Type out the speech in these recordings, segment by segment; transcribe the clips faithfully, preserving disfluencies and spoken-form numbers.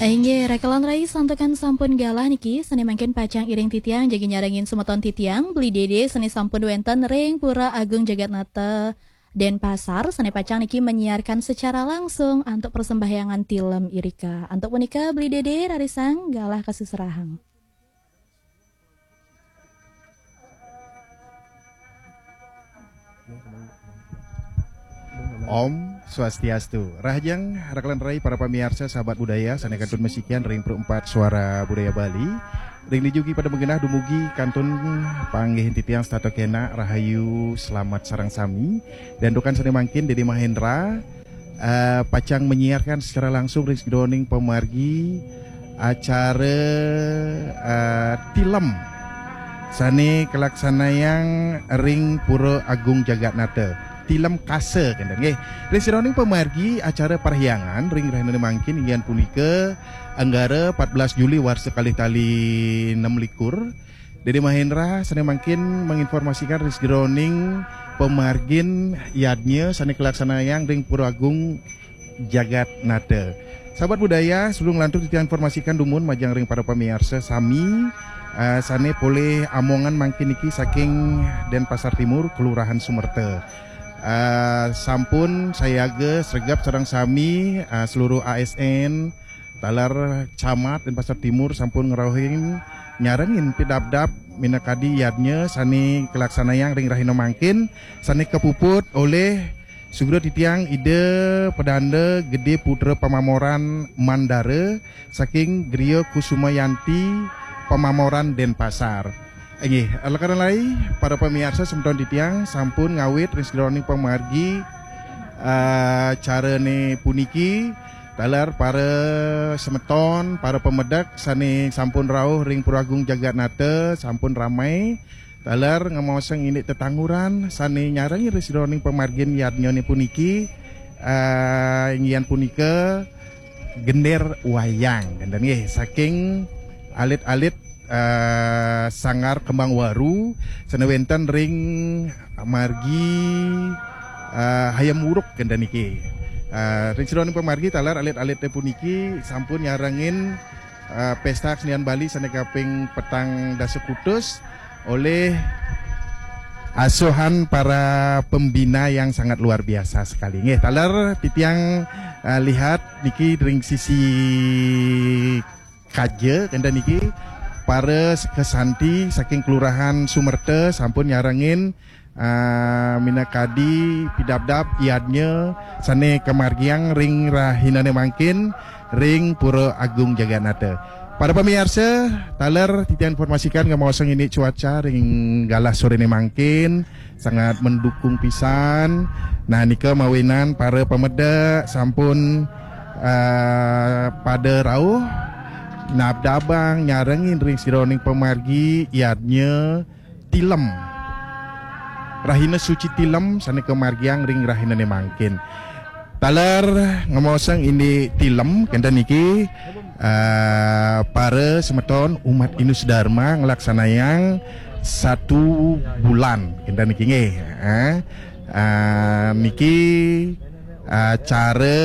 Inggih, rakelan rai, santukan sampun galah niki, sane mangkin pacang iring titiang jagi nyarengin semeton titiang, Beli Dede, sane sampun wenten ring Pura Agung Jagatnata, Denpasar, sane pacang niki menyiarkan secara langsung antuk persembahyangan tilem irika. Antuk punika, Beli Dede, rarisang galah kasuserahang. Om Swastiastu. Rahajeng rakelan rai para pamiarsa sahabat budaya sane kantun masikian ring Pro empat Suara Budaya Bali. Ring dija ugi pada magenah dumugi kantun panggihin titiang setata kenak rahayu selamat sareng sami. Dan dukan sane mangkin Dede Mahendra eh, pacang menyiarkan secara langsung ring sajeroning pamargi acara eh, tilem sane kalaksanayang ring Pura Agung Jagatnata. Tilem kasa kenten nggih. Ring sajeroning pamargi acara parhyangan ring rahinane mangkin inggih punika Anggara empat belas Juli warsa kalih tali enam likur. Dede Mahendra sane mangkin menginformasikan ring sajeroning pamargin yadnya sane kalaksanayang ring Pura Agung Jagatnata. Sahabat budaya, sebelum nglantur titiang informasikan dumun majeng ring para pamiarsa sami, eh, sane polih amongan mangkin niki saking Denpasar Timur, Kelurahan Sumerta. Eh, sampun sayaga sregep sareng sami, eh, seluruh A S N, taler camat Denpasar Timur sampun ngrauhin nyarengin pidabdab minakadi yadnya sane kalaksanayang ring rahina mangkin, sane kapuput olih sugra titiang Ida Pedanda Gede Putra Pamamoran Mandara saking Griya Kusumayanti Pamamoran Denpasar. Inggih, rakelan rai, para pamiarsa semeton titiang sampun ngawit ring sajeroning pamargi, eh, acarane puniki, taler para semeton, para pamedek sane sampun rauh ring Pura Agung Jagatnata, sampun ramai, taler ngamaosang indik tetangguran sane nyarengin ring sajeroning pamargin yadnyane puniki, eh, inggih punika gender wayang, kenten nggih, saking alit-alit eh, Sanggar Kembang Waru sane wenten ring margi, eh, Hayam Wuruk kenten niki. Eh, ring sajeroning pamargi taler alit-alite puniki sampun nyarengin, eh, Pesta Kesenian Bali sane kaping petang dasa kutus olih asuhan para pembina yang sangat luar biasa sekali. Nggih, taler titiang, eh, lihat niki ring sisi kaja kenten niki, para sekesanti saking Kelurahan Sumerta sampun nyarengin, ah, minakadi pidabdab yadnya sane kamargiang ring rahinane mangkin ring Pura Agung Jaganata. Para pamiarsa, taler titiang informasikan ngamaosang indik cuaca ring galah sorene mangkin sangat mendukung pisan. Nah, nika mawinan para pamedek sampun, eh, pada rauh nabdabang nyarengin ring sajeroning pamargi yadnya tilem. Rahina suci tilem sane kamargiang ring rahinane mangkin. Taler ngamaosang indik tilem kenten niki, eh, para semeton umat Hindu Dharma nglaksanayang satu bulan kenten niki nggih. Eh, eh, niki, eh, cara,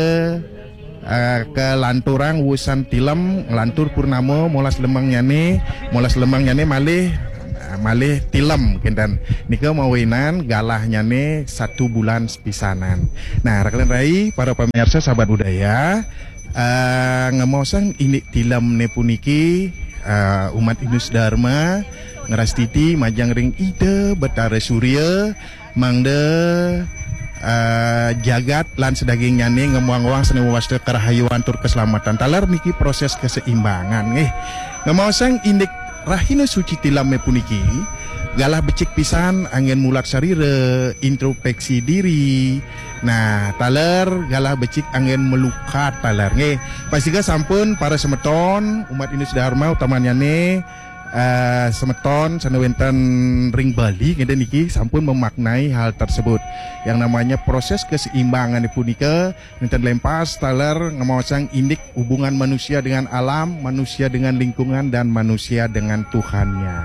eh, kalanturang wusan tilem, nglantur purnama molas lemengnyane, molas lemengnyane malih, eh, malih tilem kenten. Nika mawinan galahnyane satu bulan pisanan. Nah, rakelan rai, para pamiarsa sahabat budaya, eh, ngamaosang indik tilemne puniki, eh, umat Hindu Dharma ngrastiti majeng ring Ida Betara Surya mangda, eh, jagat lan sadagingnyane ngamuang-uang sane mawasta karahayuan tur keselamatan. Taler niki proses keseimbangan nggih. Ngamaosang indik rahina suci tileme puniki galah becik pisan anggen mulat sarira, introspeksi diri. Nah, taler galah becik anggen melukat taler nggih. Pastika sampun para semeton umat Hindu Dharma utamanyane, eh, semeton sane wenten ring Bali ngenten niki sampun memaknai hal tersebut. Yang namanya proses keseimbangan punika nenten lempas taler ngamaosang indik hubungan manusia dengan alam, manusia dengan lingkungan, dan manusia dengan Tuhannya.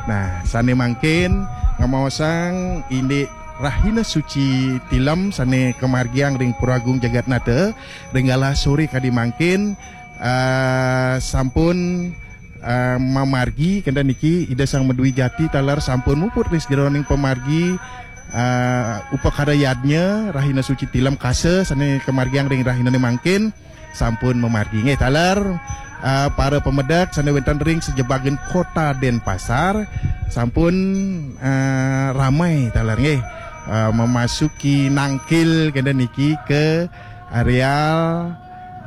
Nah, sane mangkin ngamaosang indik rahina suci tilem sane kamargiang ring Pura Agung Jagatnata ring galah sore kadi mangkin, Eh, sampun eh, mamargi kenten niki Ida Sang Madwi Jati taler sampun muput ring sajeroning pamargi eh, upakara yadnya Rahina Suci Tilem Kasa sane kamargiang ring rahinane mangkin sampun mamargi nggih taler eh, para pamedek sane wenten ring sajebagin Kota Denpasar sampun eh, ramai taler nggih eh, memasuki nangkil kenten niki ke areal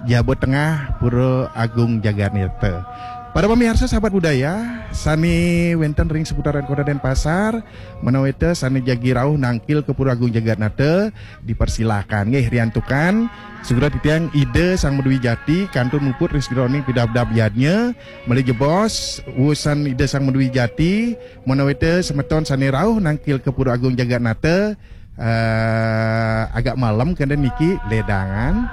Jaba Tengah Pura Agung Jagatnata. Para pamiarsa sahabat budaya, sane wenten ring seputaran Kota Denpasar, menawi te sane jagi rauh nangkil ke Pura Agung Jagatnata, dipersilakan nggih riantukan sugra titiang Ida Sang Madwi Jati kantun muput ring sajeroning pidabdab yadnya, malih jebos wusan Ida Sang Madwi Jati, menawi te semeton sane rauh nangkil ke Pura Agung Jagatnata, eh, agak malem kenten niki ledangan,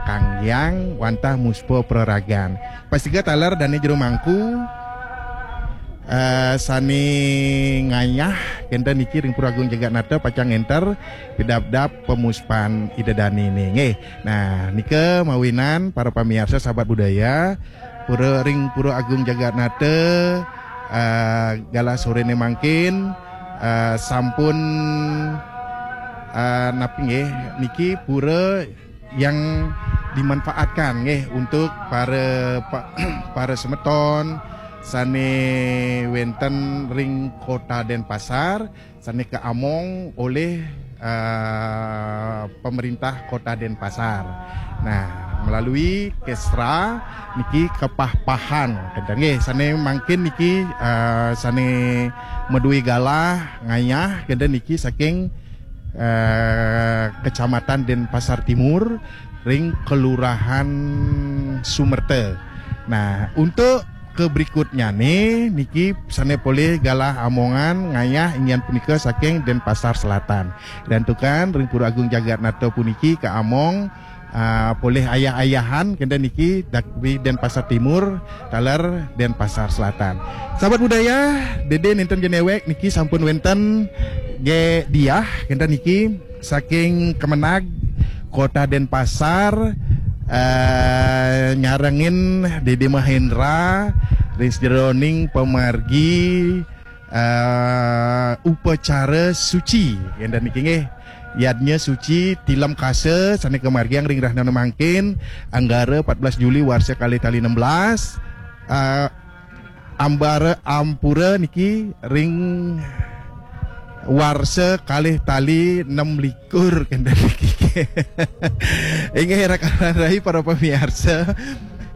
kanggiang wantah muspa praragan. Pastika taler dane jero mangku eh, sane ngayah kenten niki ring Pura Agung Jagatnata pacang ngenter pidabdab pamuspan Ida Dane nggih. Nah, nika mawinan para pamiarsa sahabat budaya, pura ring Pura Agung Jagatnata eh, galah sorene mangkin eh, sampun eh, napi nggih niki pura yang dimanfaatkan nggih untuk para pa- para semeton sane wenten ring Kota Denpasar sane kaamong oleh eh, pemerintah Kota Denpasar. Nah, melalui Kesra niki kepah-pahan kenten nggih sane mangkin niki eh, sane madue galah ngayah kenten niki saking eh, Kecamatan Denpasar Timur ring Kelurahan Sumerta. Nah, untuk ke berikutnyane niki sane polih galah amongan ngayah inggih punika saking Denpasar Selatan. Riantukan ring Pura Agung Jagatnata puniki kaamong ah, polih ayah-ayahan kenten niki dak di Denpasar Timur taler Denpasar Selatan. Sahabat budaya, Dede nenten jenewek niki sampun wenten ge diah kenten niki saking Kemenag Kota Denpasar eh, nyarengin Dede Mahendra ring sajeroning pamargi eh, upacara suci kenten niki nggih. Yadnya suci Tilem Kasa sane kamargiang ring rahina mangkin Anggara empat belas Juli warsa kalih tali enam belas eh, ambara ampura niki ring warsa kalih tali enam likur kenten niki. Inggih rakan rai para pamiarsa.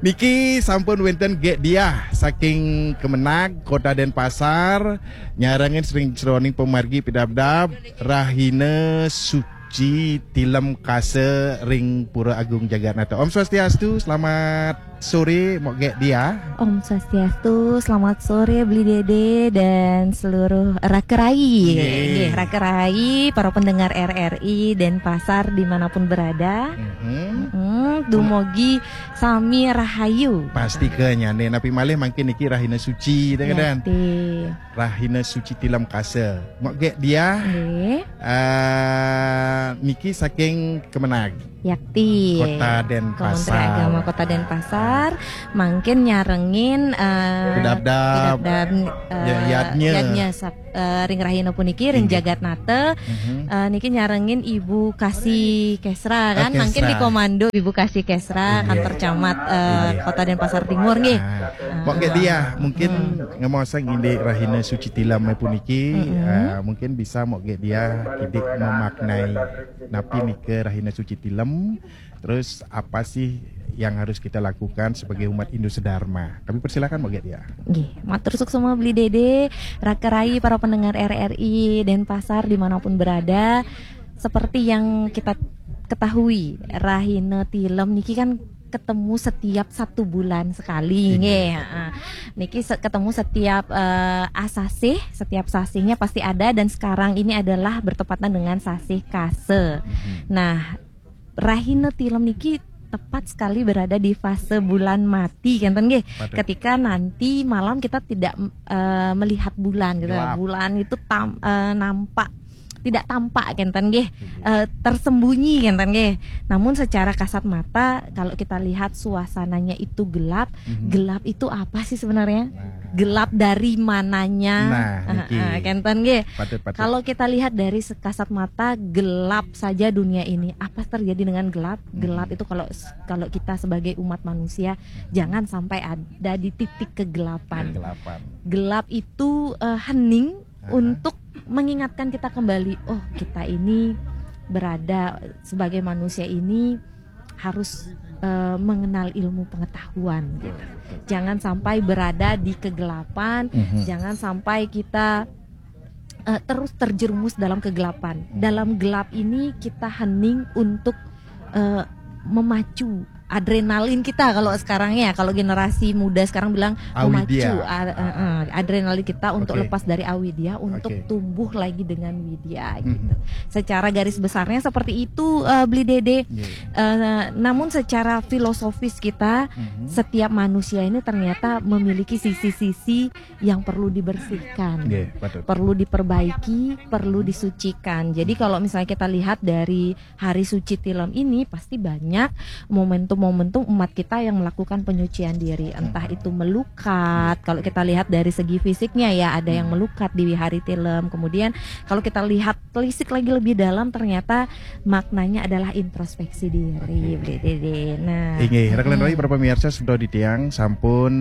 Niki sampun wenten ge diah saking Kemenag Kota Denpasar nyarengin ring sajeroning pamargi pidabdab Rahina Suci Tilem Kasa ring Pura Agung Jagatnata. Om Swastiastu, selamat sore Mok Gek Dia. Om Swastiastu, selamat sore Beli Dede dan seluruh Rakerai. Nggih. Nggih, Rakerai, para pendengar R R I Denpasar dimanapun berada. Mhm. Hmm, dumugi sami rahayu. Pasti ke nyane, napi malih mangkin niki rahina suci, teh, Yakti. Rahina suci Tilem Kasa. Mok Gek Dia. Nggih. Eh, niki saking Kemenag. Yakti. Kota Denpasar. Kementerian Agama Kota Denpasar. Mangkin nyarengin eh, pidabdab, pidabdab, eh, ya, yadnya. Yadnya sab- eh, ring rahina puniki ring Inggih. Jagatnata. Mhm. Eh, niki nyarengin Ibu Kasih Kesra kan. Oh, mangkin Kesra. Di komando Ibu Kasih Kesra, Inggih. Kantor camat eh, Inggih. Kota Denpasar Timur nggih. Nah, Mok Gek Dia mungkin Hmm. ngemaosang indik rahina suci Tilem puniki, Mhm. eh, mungkin bisa Mok Gek Dia kidik memaknai napi nika rahina suci Tilem. Terus apa sih yang harus kita lakukan sebagai umat Hindu sedharma? Kami persilakan Mok Gek Dia. Nggih, matur suksma Beli Dede, Rakerai, para pendengar R R I Denpasar dimanapun berada. Seperti yang kita ketahui, rahina Tilem niki kan ketemu setiap satu bulan sekali, Iya. Nggih, heeh. Niki se- ketemu setiap eh, asasih, setiap sasihnya pasti ada, dan sekarang ini adalah bertepatan dengan sasih Kasa. Mhm. Nah, rahina Tilem niki tepat sekali berada di fase bulan mati, kenten nggih. Waduh. Ketika nanti malam kita tidak eh, melihat bulan gitu. Gelap. Bulan itu tam- eh, nampak tidak tampak kenten nggih, eh, tersembunyi kenten nggih. Namun secara kasat mata kalau kita lihat suasananya itu gelap, Mhm. gelap itu apa sih sebenarnya? Nah. Gelap dari mananya? Nah, Eh, niki. eh, kenten nggih. Patut, patut. Kalau kita lihat dari se- kasat mata, gelap saja dunia ini. Apa terjadi dengan gelap? Mhm. Gelap itu kalau kalau kita sebagai umat manusia, jangan sampai ada di titik kegelapan. Kegelapan. Gelap itu eh, hening Aha. untuk mengingatkan kita kembali, oh, kita ini berada sebagai manusia ini harus eh, mengenal ilmu pengetahuan gitu. Jangan sampai berada di kegelapan, Mhm. jangan sampai kita eh, terus terjerumus dalam kegelapan. Dalam gelap ini kita hening untuk eh, memacu adrenalin kita kalau sekarang ya, kalau generasi muda sekarang bilang Awidya. memacu a- eh, eh, adrenalin kita untuk Oke. lepas dari awidya, untuk Oke. tumbuh lagi dengan widya gitu. Mhm. Secara garis besarnya seperti itu, eh, Bli Dede. Iya. Eh, namun secara filosofis kita, Mhm. setiap manusia ini ternyata memiliki sisi-sisi yang perlu dibersihkan. Iya, patut. Perlu diperbaiki, perlu disucikan. Jadi kalau misalnya kita lihat dari hari suci Tilem ini, pasti banyak momentum-momentum umat kita yang melakukan penyucian diri, entah itu melukat. Kalau kita lihat dari segi fisiknya ya, ada yang melukat di hari Tilem. Kemudian kalau kita lihat telisik lagi lebih dalam, ternyata maknanya adalah introspeksi diri, Bli Dede. Nah, Inggih, rekan mm-mm. Rai, para pemirsa, semeton titiang sampun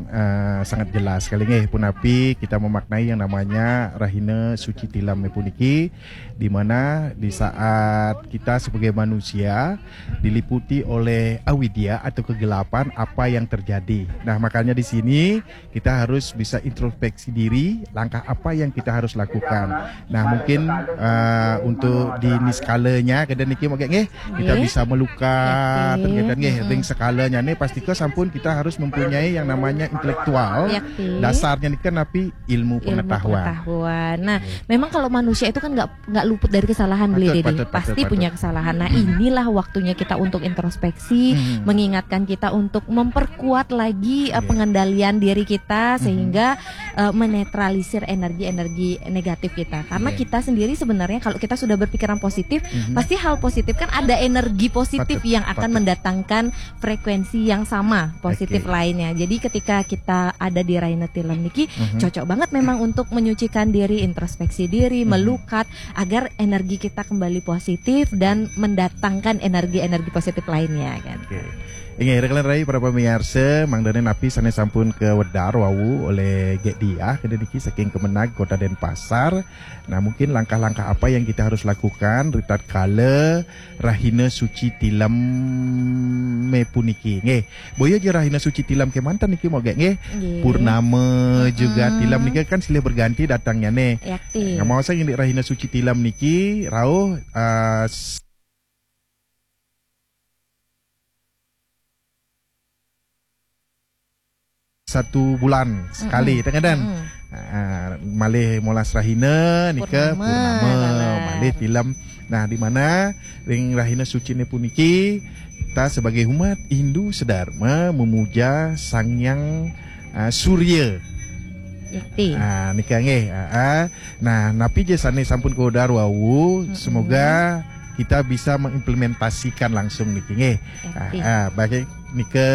eh, sangat jelas kali nggih punapi kita memaknai yang namanya Rahina Suci Tilem puniki, di mana di saat kita sebagai manusia diliputi oleh awidya atau kegelapan, apa yang terjadi. Nah, makanya di sini kita harus bisa introspeksi diri, langkah apa yang kita harus lakukan. Nah, mungkin eh, untuk di niskalanya, kadang niki mungkin nggih, kita Nggih. bisa melukat, Yakti. kadang nggih, Mm-mm. ring sekalanya nih, pasti ke sampun kita harus mempunyai yang namanya intelektual. Yakti. Dasarnya nih kan napi ilmu Ilmu pengetahuan. pengetahuan. Nah, memang kalau manusia itu kan nggak nggak luput dari kesalahan, Bli Patut, Dede. patut, patut, Pasti patut. Punya kesalahan. Nah, inilah waktunya kita untuk introspeksi, Hmm. mengingatkan kita untuk memperkuat lagi eh, Iya. pengendalian diri kita, Mhm. sehingga eh, menetralisir energi-energi negatif kita. Karena Iya. kita sendiri sebenarnya kalau kita sudah berpikiran positif, Mhm. pasti hal positif kan ada energi positif Patut, yang akan patut. mendatangkan frekuensi yang sama positif Oke. lainnya. Jadi ketika kita ada di Rahina Tilem niki, Mhm. cocok banget memang untuk menyucikan diri, introspeksi diri, Mhm. melukat, agar energi kita kembali positif dan mendatangkan energi-energi positif lainnya kan. Oke. Inggih, rekan Rai, para pemirsa, mangdane napi sane sampun kawedar wau oleh Gek Diah, kene niki saking Kemenag Kota Denpasar. Nah, mungkin langkah-langkah apa yang kita harus lakukan ritatkala Rahina Suci Tilem puniki. Nggih, boya ja Rahina Suci Tilem kemanten niki mau Gek nggih. Nggih. Purnama juga Mm-mm. Tilem niki kan silih berganti datangnya nih. Yakti. Nggak mau saya ngelik Rahina Suci Tilem niki rauh eh, s- satu bulan sekali, Mm-mm. tengah dan Mm-mm. Ah, malih molas rahina nika Purnama, purnama, kabar. malih Tilem. Nah, di mana ring rahina sucine puniki kita sebagai umat Hindu sedharma memuja Sang Hyang ah, Surya. Yakti. Ah, nika nggih. Ah, ah. Nah, napi ja sane sampun kawedar wau, Mm-mm. semoga kita bisa mengimplementasikan langsung niki nggih. Yakti. Ah, ah, bagi nika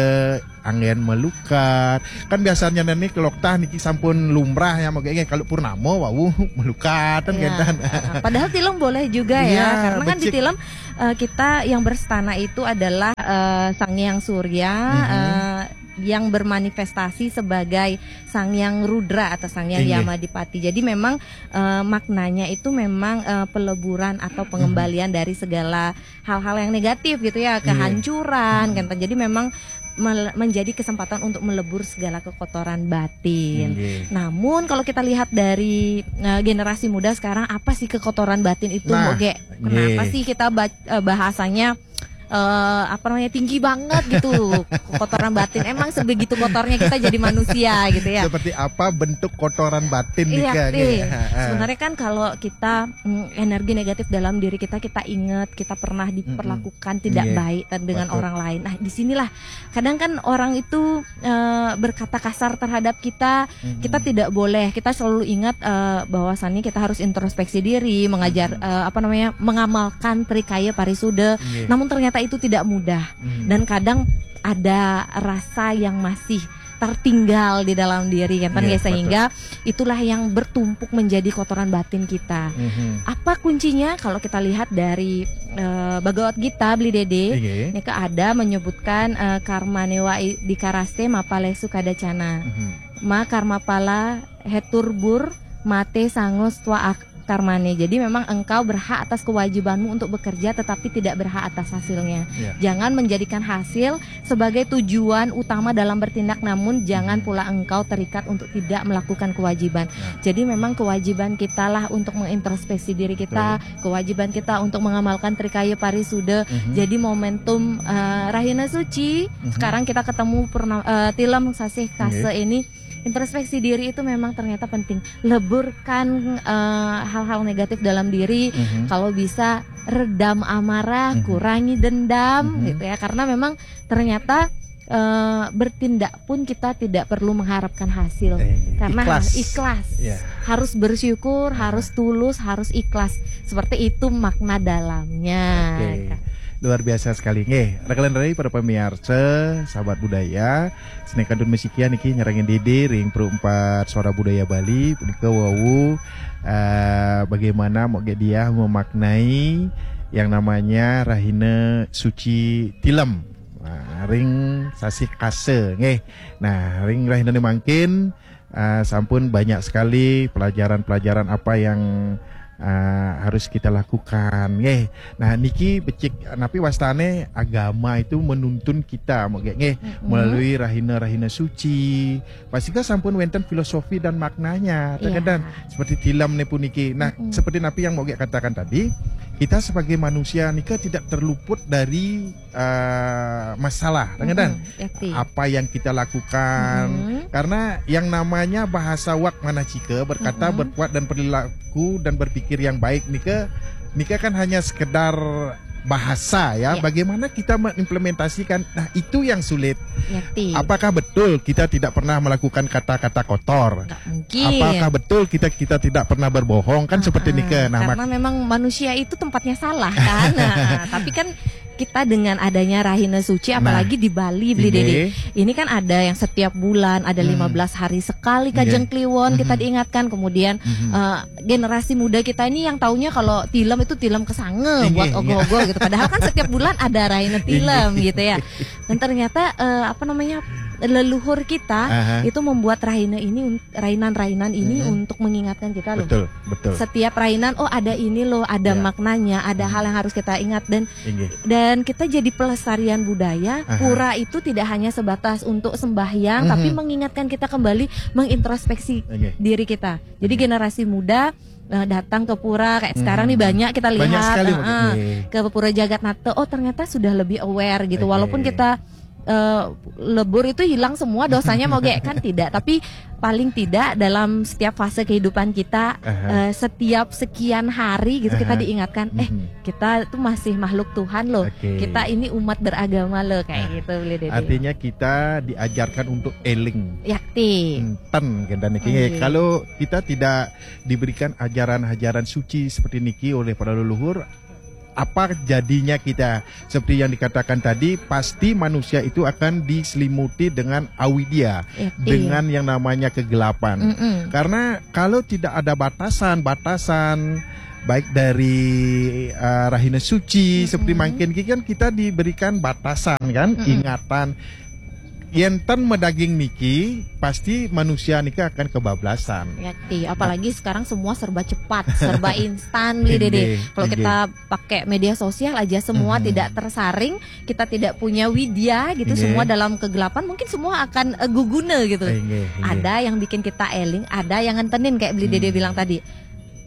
anggen melukat. Kan biasanya niki keloktah niki sampun lumrah ya, mungkin kalau purnama wau melukat kan Ya. kenten. Ah, padahal Tilem boleh juga ya, Iya, karena kan di becik. Tilem eh, kita yang berstana itu adalah eh, Sang Hyang Surya Mhm. eh, yang bermanifestasi sebagai Sang Hyang Rudra atau Sang Hyang Inggih. Yamadipati. Jadi memang eh, maknanya itu memang eh, peleburan atau pengembalian dari segala hal-hal yang negatif gitu ya, Iya. kehancuran, kan. Jadi memang mel- menjadi kesempatan untuk melebur segala kekotoran batin. Inggih. Namun kalau kita lihat dari eh, generasi muda sekarang, apa sih kekotoran batin itu, Nah, Mbok Gek? Kenapa nggih. sih kita ba- eh, bahasanya eh, apa namanya, tinggi banget gitu kotoran batin. Emang sebegitu kotornya kita jadi manusia gitu ya. Seperti apa bentuk kotoran batin nih Iya, Kak? deh. Ha, ha. Sebenarnya kan kalau kita mm, energi negatif dalam diri kita, kita ingat kita pernah diperlakukan tidak Iya, baik ter- dengan betul. orang lain. Nah, disinilah kadang kan orang itu eh, berkata kasar terhadap kita. Kita tidak boleh. Kita selalu ingat eh, bahwasannya kita harus introspeksi diri, mengajar eh, apa namanya, mengamalkan trikaya parisuda. Iya. Namun ternyata itu tidak mudah. Hmm. Dan kadang ada rasa yang masih tertinggal di dalam diri kan, Iya, ya, sehingga itulah yang bertumpuk menjadi kotoran batin kita. Mhm. Apa kuncinya? Kalau kita lihat dari eh, Bhagavad Gita, Beli Dede, Iya. ini ada menyebutkan eh, karma newa i- di karaste mapalesu kadacana. Mhm. Ma karma pala heturbur mate sangos tua ak- karmane. Jadi memang engkau berhak atas kewajibanmu untuk bekerja, tetapi tidak berhak atas hasilnya. Iya. Jangan menjadikan hasil sebagai tujuan utama dalam bertindak, namun jangan pula engkau terikat untuk tidak melakukan kewajiban. Jadi memang kewajiban kitalah untuk mengintrospeksi diri kita, kewajiban kita untuk mengamalkan trikaya parisuda. Jadi momentum eh, Rahina Suci, sekarang kita ketemu purna, eh, Tilem Sasih Kase ini, introspeksi diri itu memang ternyata penting. Leburkan eh, hal-hal negatif dalam diri. Kalau bisa, redam amarah, kurangi dendam gitu ya, karena memang ternyata eh, bertindak pun kita tidak perlu mengharapkan hasil. Eh, Karena ikhlas. ikhlas. Iya. Harus bersyukur, harus tulus, harus ikhlas. Seperti itu makna dalamnya. Oke. Luar biasa sekali. Nggih, rekan-rekan para pemirsa, sahabat budaya, Seni Kantun Mesikia niki nyerangin didi ring Pro empat Suara Budaya Bali, punika wau eh, bagaimana mau dia memaknai yang namanya Rahina Suci Tilem. Nah, ring Sasih Kase, nggih. Nah, ring Rahina mangkin eh, sampun banyak sekali pelajaran-pelajaran apa yang eh, harus kita lakukan, nggih. Nah, niki becik napi wastane agama itu menuntun kita, mau nggih, melalui rahina-rahina suci. Pasti kan sampun wenten filosofi dan maknanya, Iya. Kadang seperti Tilem nih puniki. Nah, seperti napi yang mau nggih katakan tadi, kita sebagai manusia nika tidak terluput dari eh, masalah, Kadang Mm-mm, yakti. apa yang kita lakukan. Karena yang namanya bahasa wak manacika, berkata, berbuat dan perilaku dan berpikir yang baik nika, nika kan hanya sekedar bahasa ya. Ya. Bagaimana kita mengimplementasikan? Nah, itu yang sulit. Yakti. Apakah betul kita tidak pernah melakukan kata-kata kotor? Nggak mungkin. Apakah betul kita kita tidak pernah berbohong? Kan seperti Ah, nika. Nah, karena memang manusia itu tempatnya salah kan. Nah, tapi kan kita dengan adanya Rahina Suci, Nah. Apalagi di Bali, Beli Ini. Dede, ini kan ada yang setiap bulan, ada Hmm. lima belas hari sekali Kajeng Nggih. Kliwon kita Mhm. diingatkan. Kemudian Mhm. eh, generasi muda kita ini yang taunya kalau Tilem itu Tilem kesange Nggih, buat nggih. ogoh-ogoh gitu. Padahal kan setiap bulan ada Rahina Tilem gitu ya. Dan ternyata eh, apa namanya, leluhur kita Aha. itu membuat rahina ini un- rainan-rainan ini Mhm. untuk mengingatkan kita loh. Betul, betul. Setiap rainan, oh, ada ini loh, ada Ya. maknanya, ada hal yang harus kita ingat. Dan Inggih. dan kita jadi pelestarian budaya. Aha. Pura itu tidak hanya sebatas untuk sembahyang, Mhm. tapi mengingatkan kita kembali mengintrospeksi Inggih. diri kita. Jadi Inggih. Generasi muda eh, datang ke pura kayak sekarang nih, Mhm. banyak kita Banyak lihat, sekali, eh, Inggih. ke pura jagat nata, oh, ternyata sudah lebih aware gitu. Oke. Walaupun kita eh, lebur itu hilang semua dosanya, mau gak kan tidak, tapi paling tidak dalam setiap fase kehidupan kita, Aha. eh, setiap sekian hari gitu, kita Aha. diingatkan, eh, Mhm. kita tuh masih makhluk Tuhan loh. Oke. Kita ini umat beragama loh, kayak Nah, gitu, Beli Dede. Artinya kita diajarkan untuk eling. Yakti. Enten, Kadang niki. Nggih. Kalau kita tidak diberikan ajaran-ajaran suci seperti niki oleh para leluhur, apa jadinya kita? Seperti yang dikatakan tadi, pasti manusia itu akan diselimuti dengan awidya, Yakti. dengan yang namanya kegelapan. Mm-mm. Karena kalau tidak ada batasan-batasan, baik dari uh, rahina suci seperti mangkin, kan kita diberikan batasan, kan, Mm-mm. ingatan. Yen ten medaging niki, pasti manusia niki akan kebablasan. Yakti, apalagi sekarang semua serba cepat, serba instan, Beli Dede. Inggih, Kalau inggih. Kita pakai media sosial aja, semua Mhm. tidak tersaring, kita tidak punya widya gitu, Inggih. Semua dalam kegelapan, mungkin semua akan eh, guguna gitu. Inggih, inggih. Ada yang bikin kita eling, ada yang ngentenin kayak Beli Dede Hmm. bilang tadi.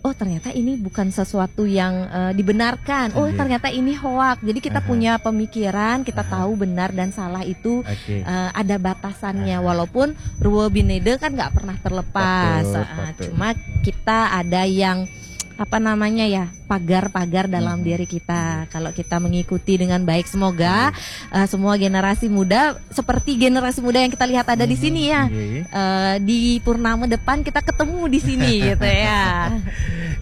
oh, ternyata ini bukan sesuatu yang eh, dibenarkan. Oh, Iya. Ternyata ini hoak. Jadi kita Aha. punya pemikiran, kita Aha. tahu benar dan salah itu Oke. eh, ada batasannya. Aha. Walaupun rua bineda kan nggak pernah terlepas. Patut, Ah, patut. Cuma kita ada yang apa namanya ya, pagar-pagar dalam Mhm. diri kita. Kalau kita mengikuti dengan baik, semoga eh, semua generasi muda seperti generasi muda yang kita lihat ada di Mhm. sini ya. Nggih. Eh, di purnama depan kita ketemu di sini gitu ya.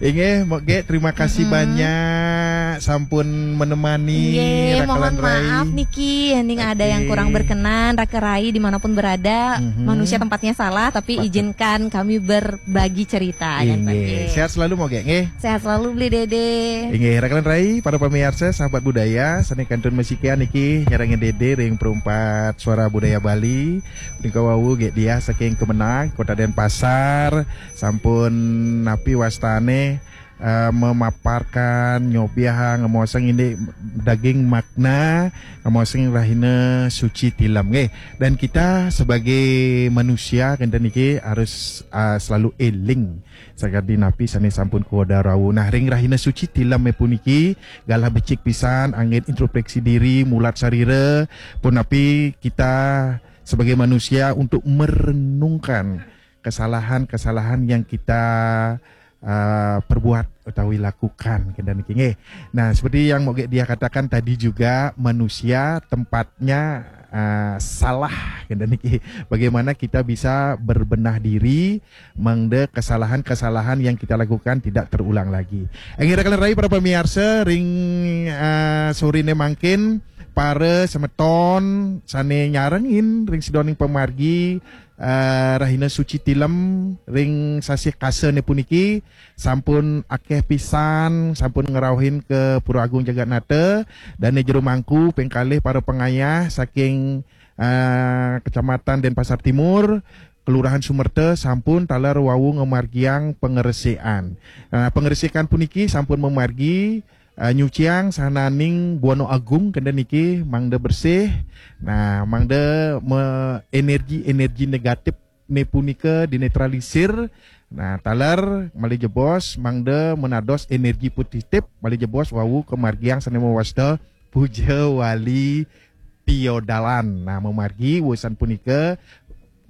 Inggih, Mbok Gek, terima kasih Mm-mm. banyak sampun menemani Nggih, mohon Rakalan Rai. Maaf niki, ning ada yang Oke. kurang berkenan, Raka Rai dimanapun berada, Mhm. manusia tempatnya salah, tapi Patut. Izinkan kami berbagi cerita. Ya, Inggih. Pak, nggih. Sehat selalu, Mbok Gek, nggih. Sehat selalu, Beli Dede. Inggih, Rakalan Rai, para pemirsa, sahabat budaya, sane kantun masikian niki nyarengin Dede ring Perumpat Suara Budaya Bali. Punika wau Gek Diah saking Kemenag, Kota Denpasar, sampun napi wastane eh, memaparkan, nyobiahang, ngemaosang indik daging makna, ngemaosang rahina suci tilem nggih. Dan kita sebagai manusia kenten niki harus eh, selalu eling sakadi napi sane sampun kawedar wau. Nah, ring rahina suci tilem puniki galah becik pisan anggen introspeksi diri, mulat sarira, punapi kita sebagai manusia untuk merenungkan kesalahan-kesalahan yang kita uh, perbuat utawi lakukan kenten niki nggih. Nah, seperti yang Mbok Gek Diah katakan tadi juga, manusia tempatnya uh, salah kenten niki. Bagaimana kita bisa berbenah diri mangda kesalahan-kesalahan yang kita lakukan tidak terulang lagi. Inggih, Rakalan Rai, para pemirsa, ring uh, sorine mangkin para semeton sane nyarengin ring sidaning pamargi eh, rahina suci tilem ring sasih kasane puniki sampun akeh pisan sampun ngrauhin ke Pura Agung Jagatnata. Dane jero mangku ping kalih para pengayah saking eh, Kecamatan Denpasar Timur, Kelurahan Sumerta sampun taler wau ngamargiang pangresikan. Nah, pangresikan puniki sampun mamargi uh, nyuciang sahananing buana agung kenten niki mangda bersih. Nah, mangda me energi-energi negatif ne punika dinetralisir. Nah, taler malih jebos mangda menados energi positif malih jebos wau kamargiang sane mawasta puja wali piodalan. Nah, mamargi wusan punika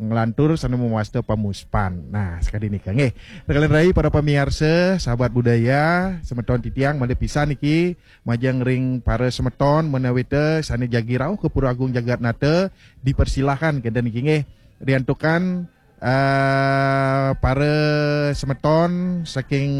nglantur sane mawasta pamuspan. Nah, sakadi nika nggih. Rakalan Rai, para pamiarsa, sahabat budaya, semeton titiang malih pisan niki majeng ring para semeton menawi ta sane jagi rauh ke Pura Agung Jagatnata, dipersilahkan kenten niki nggih. Riantukan eh, para semeton saking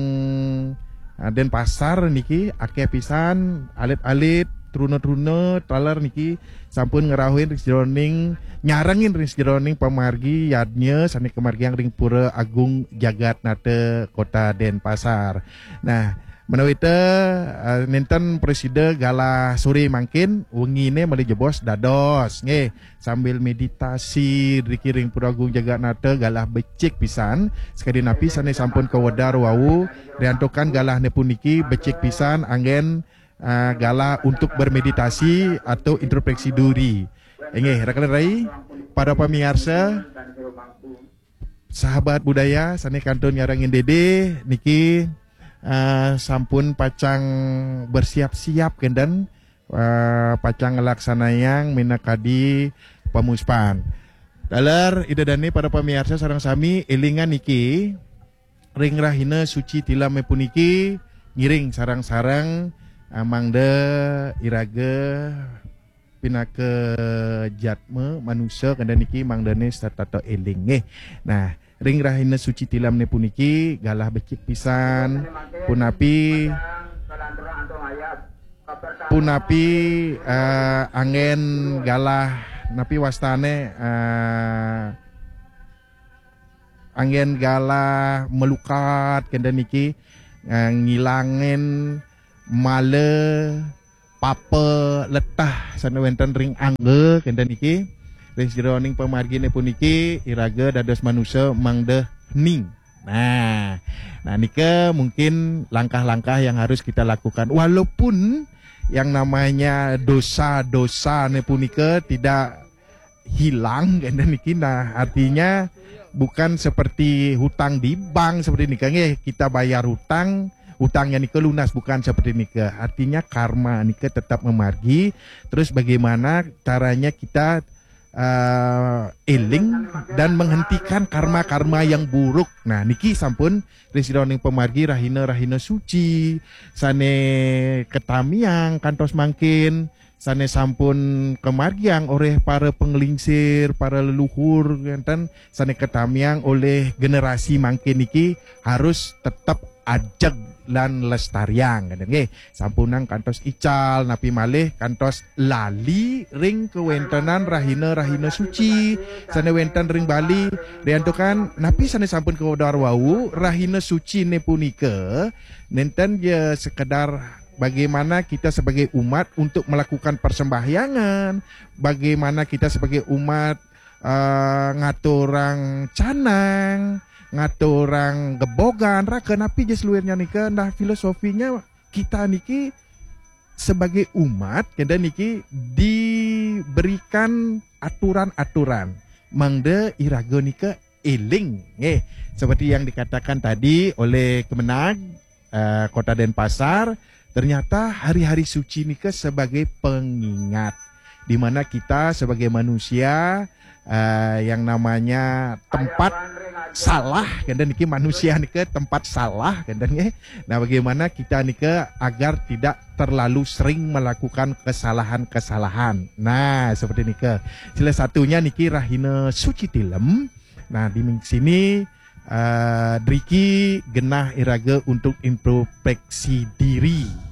eh, Denpasar niki akeh pisan alit-alit truna-truna taler niki sampun ngrauhin ring sajeroning nyarengin ring sajeroning pamargi yadnya sane kamargiang ring Pura Agung Jagatnata Kota Denpasar. Nah, menawi ta eh, nenten prasida galah sore mangkin, wengine malih jebos dados nggih sambil meditasi riki ring Pura Agung Jagatnata galah becik pisan. Sakadi napi sane sampun kawedar wau, riantukan galahne puniki becik pisan anggen uh, galah untuk bermeditasi atau introspeksi diri. Inggih, Rakalan Rai, para pamiarsa, sahabat budaya sane kantun nyarengin Dede niki uh, sampun pacang bersiap-siap kenten uh, pacang nglaksanayang minakadi pamuspan. Taler Ida Dane, para pamiarsa sareng sami, elingan niki ring rahina suci tileme puniki ngiring sareng-sareng uh, mangda iraga pinaka jatma manusa kenten niki mangdane setata eling nggih. Nah, ring rahina suci tilamne puniki galah becik pisan punapi punapi uh, anggen galah napi wastane uh, anggen galah melukat kenten niki uh, ngilangin mala papa letah sane wenten ring angga kenten niki. Ring sajeroning pamargine puniki iraga dados manusa mangda hening. Nah, nah nika mungkin langkah-langkah yang harus kita lakukan walaupun yang namanya dosa-dosane punika tidak hilang, kenten niki. Nah, artinya bukan seperti hutang di bank seperti nika nggih, kita bayar hutang, hutangnya nika lunas, bukan seperti nika. Artinya karma nika tetap memargi. Terus bagaimana caranya kita eh, eling dan menghentikan karma-karma yang buruk. Nah, niki sampun ring sira ning pamargi rahina-rahina suci, sane katamiang kantos mangkin, sane sampun kamargiang oleh para panglingsir, para leluhur, kenten, sane katamiang oleh generasi mangkin niki harus tetep ajeg lan lestariang, kenten nggih. Sampunang kantos ical, napi malih kantos lali ring kawentenan rahina-rahina suci sane wenten ring Bali. Riantukan napi sane sampun kawedar wau, rahina sucine punika nenten ya sekedar bagaimana kita sebagai umat untuk melakukan persembahyangan, bagaimana kita sebagai umat eh, ngaturang canang, ngaturang gebogan, raga, napi ja seluirnya nika. Nah, filosofinya kita niki sebagai umat, kenten niki diberikan aturan-aturan. Mangda iraga nika eling, nggih. Seperti yang dikatakan tadi oleh Kemenag, eh, Kota Denpasar, ternyata hari-hari suci nika sebagai pengingat di mana kita sebagai manusia, eh, yang namanya tempat salah, kenten niki, manusia nika tempat salah, kenten nggih. Nah, bagaimana kita nika agar tidak terlalu sering melakukan kesalahan-kesalahan. Nah, seperti nika. Salah satunya niki rahina suci tilem. Nah, di sini eh, driki genah iraga untuk introspeksi diri.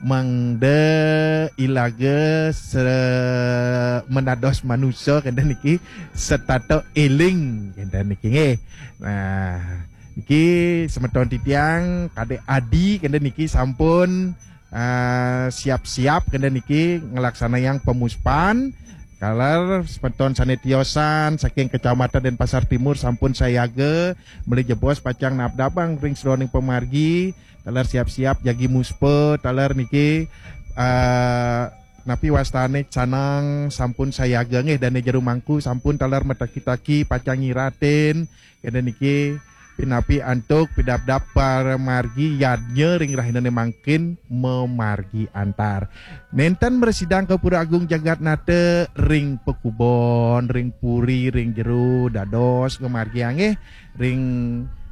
Mangda iraga se-, menados manusa, kenten niki, setata eling, kenten niki nggih. Nah, niki semeton titiang, Kadek Adi, kenten niki sampun eh, siap-siap, kenten niki, nglaksanayang pamuspan. Taler semeton sane tiosan saking Kecamatan Denpasar Timur sampun sayaga, malih jebos pacang nabdabang ring sajeroning pamargi. Taler siap-siap jagi muspa, taler niki, eh, napi wastane canang sampun sayaga nggih, dane jero mangku sampun taler mataki-taki pacang nyiratin, kenten niki, pinapi antuk pidabdab pamargi yadnya ring rahinane mangkin mamargi antar. Nenten mrasidang ka Pura Agung Jagatnata ring pakubon, ring puri, ring jero, dados ngamargiang nggih, ring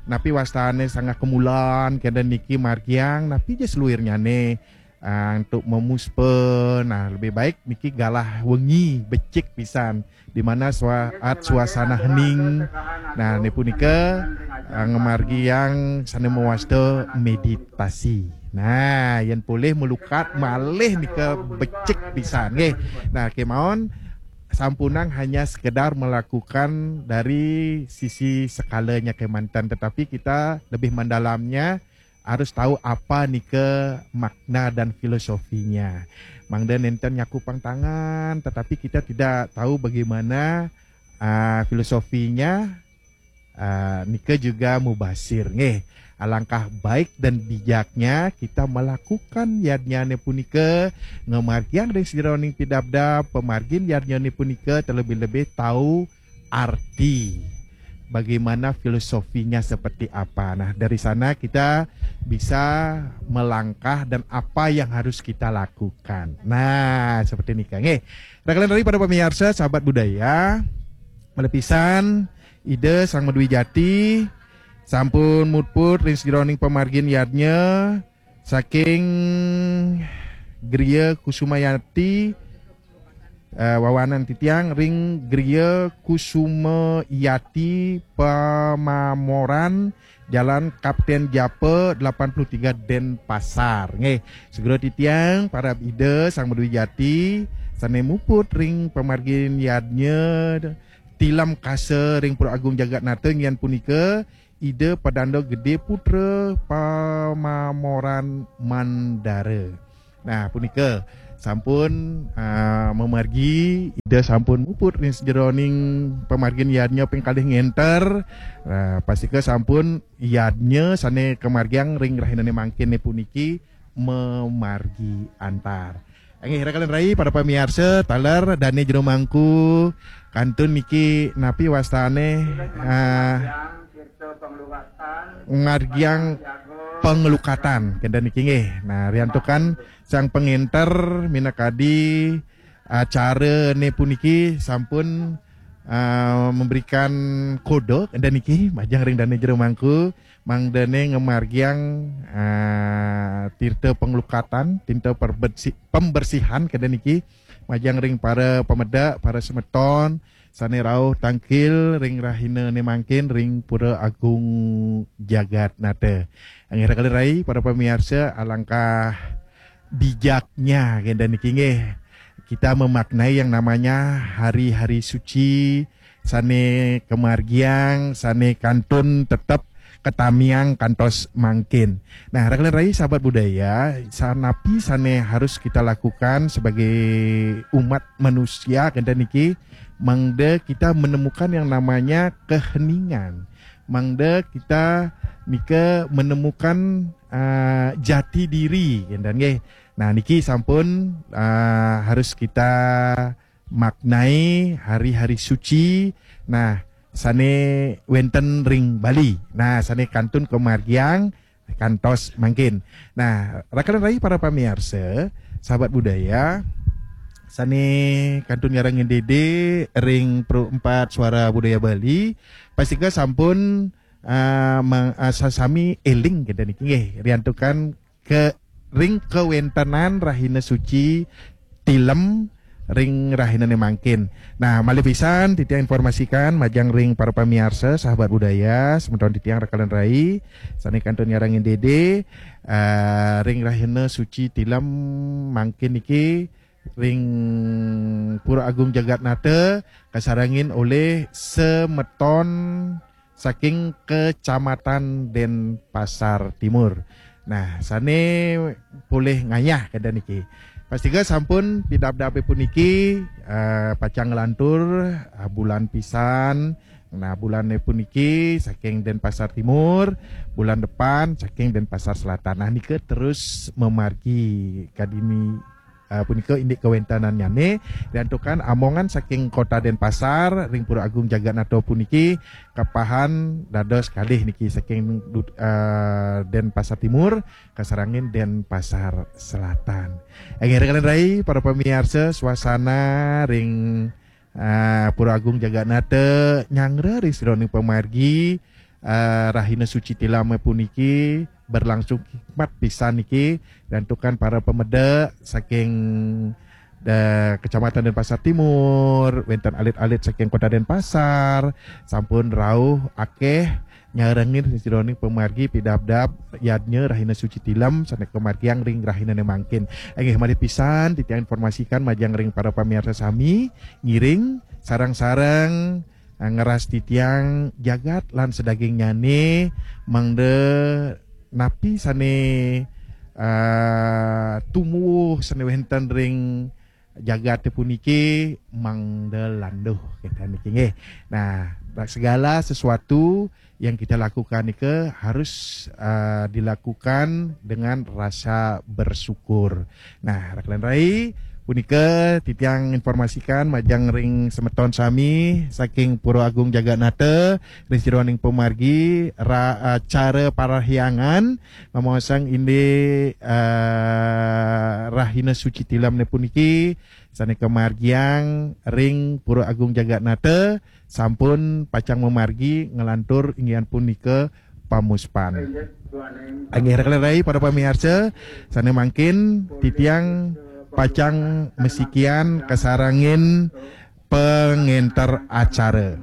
napi wastane sanggah kemulan, kenten niki margiang, napi ja seluirnyane, ah, antuk mamuspa. Nah, lebih baik niki galah wengi becik pisan, di mana sua-, at suasana hening. Nah, ne punika, ah, ngamargiang sane mawasta meditasi. Nah, yen polih malukat malih nika becik pisan nggih. Nah, kemawon sampunang hanya sekedar melakukan dari sisi skalanya kemanten, tetapi kita lebih mendalamnya harus tahu apa nika makna dan filosofinya. Mangda nenten nyakupang tangan, tetapi kita tidak tahu bagaimana, ah, filosofinya, ah, nika juga mubasir nggih. Alangkah baik dan bijaknya kita melakukan yadnyane punika, ngamargiang ring sajeroning pidabdab, pamargin yadnyane punika, terlebih-lebih tahu arti, bagaimana filosofinya seperti apa. Nah, dari sana kita bisa melangkah dan apa yang harus kita lakukan. Nah, seperti nika nggih. Rakalan dari para pemirsa, sahabat budaya, malih pisan Ida Sang Madwi Jati sampun muput ring sajeroning pamargin yadnya saking Griya Kusumayati, eh, wawanan titiang ring Griya Kusumayati Pamamoran, Jalan Kapten Japa delapan puluh tiga, Denpasar. Nggih, segera titiang para Ida Sang Madwi Jati sane muput ring pamargin yadnya tilem kasa ring Pura Agung Jagatnata, inggih punika Ida Padanda Gede Putra Pamamoran Mandara. Nah, punika sampun, ah, mamargi, Ida sampun muput ring sajeroning pamargin yadnya ping kalih ngenter. Nah, pastika sampun yadnya sane kamargiang ring rahinane mangkin puniki mamargi antar. Inggih, raka lan rai, para pamiarsa, taler dane jero mangku kantun niki napi wastane, ah, ngargiang panglukatan kenten niki nggih. Nah, riantukan sang pangenter minakadi acarane puniki sampun, ah, memberikan kode kenten niki majeng ring dane jero mangku. Mangdane ngamargiang, ah, tirta panglukatan, tirta perbersi-, pembersihan kenten niki majeng ring para pamedek, para semeton sane rauh tangkil ring rahinane mangkin ring Pura Agung Jagat Nata. Inggih raka lan rai, para pamiarsa, alangkah bijaknya kenten niki nggih. Kita memaknai yang namanya hari-hari suci sane kamargiang, sane kantun tetep katamiang kantos mangkin. Nah, raka lan rai sahabat budaya, sanapi sane harus kita lakukan sebagai umat manusia kenten niki, mangda kita menemukan yang namanya keheningan. Mangda kita nika menemukan, ah, jati diri kenten nggih. Nah, niki sampun, ah, harus kita maknai hari-hari suci, nah, sane wenten ring Bali. Nah, sane kantun kamargiang kantos mangkin. Nah, raka lan rai, para pamiarsa, sahabat budaya, sane kantun nyarengin dede ring Pro Empat Suara Budaya Bali, pastika sampun, ah, mang-, ah, sasami eling kenten niki nggih, riantukan ke ring kawentenan rahina suci tilem ring rahinane mangkin. Nah, malih pisan titiang informasikan majeng ring para pamiarsa, sahabat budaya, semeton titiang raka lan rai, sane kantun nyarengin dede, eh, ring rahina suci tilem mangkin niki ring Pura Agung Jagat Nata kasarengin olih semeton saking Kecamatan Denpasar Timur. Nah, sane polih ngayah kenten niki. Pastika sampun pidabdabe puniki, eh, pacang nglantur, eh, bulan pisan. Nah, bulane puniki saking Denpasar Timur, bulan depan saking Denpasar Selatan. Nah, nika terus mamargi kadini, eh, punika indik kawentenannyane, riantukan amongan saking Kota Denpasar ring Pura Agung Jagat Nata puniki kapahan dados kalih niki saking dut-, eh, Denpasar Timur kasarengin Denpasar Selatan. Inggih raka lan rai, para pamiarsa, suasana ring, eh, Pura Agung Jagat Nata nyanggra ring sajeroning pamargi, eh, rahina suci tilem puniki berlangsung hikmat pisan niki, riantukan para pamedek saking da-, Kecamatan Denpasar Timur, wenten alit-alit saking Kota Denpasar, sampun rauh akeh nyarengin sajeroning pamargi pidabdab yadnya rahina suci tilem sane kamargiang ring rahinane mangkin. Inggih malih pisan titiang informasikan majeng ring para pamiarsa sami, ngiring sareng-sareng, eh, ngeras titiang jagat lan sadagingnyane, mangda napi sane, eh, tumuwuh sane wenten ring jagate puniki mangda landuh kenten niki nggih. Nah, segala sesuatu yang kita lakukan nika harus, eh, dilakukan dengan rasa bersyukur. Nah, raka lan rai, punika titiang informasikan majeng ring semeton sami saking Pura Agung Jagat Nata, ring sajeroning pamargi ra-, eh, acara parahyangan ngamaosang indik, eh, rahina suci tilemne puniki sane kamargiang ring Pura Agung Jagat Nata, sampun pacang mamargi nglantur inggih punika pamuspan. Inggih raka lan rai para pamiarsa, sane mangkin titiang pacang masikian kasarengin pangenter acara.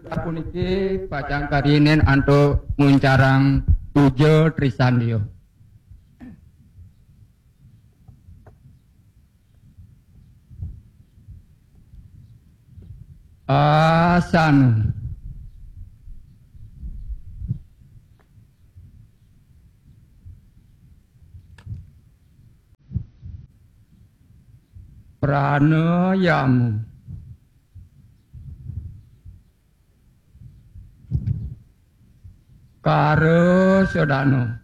Sapuniki pacang karihinin antuk nguncarang puja trisandia. Asana. Pranayama. Kara sadana.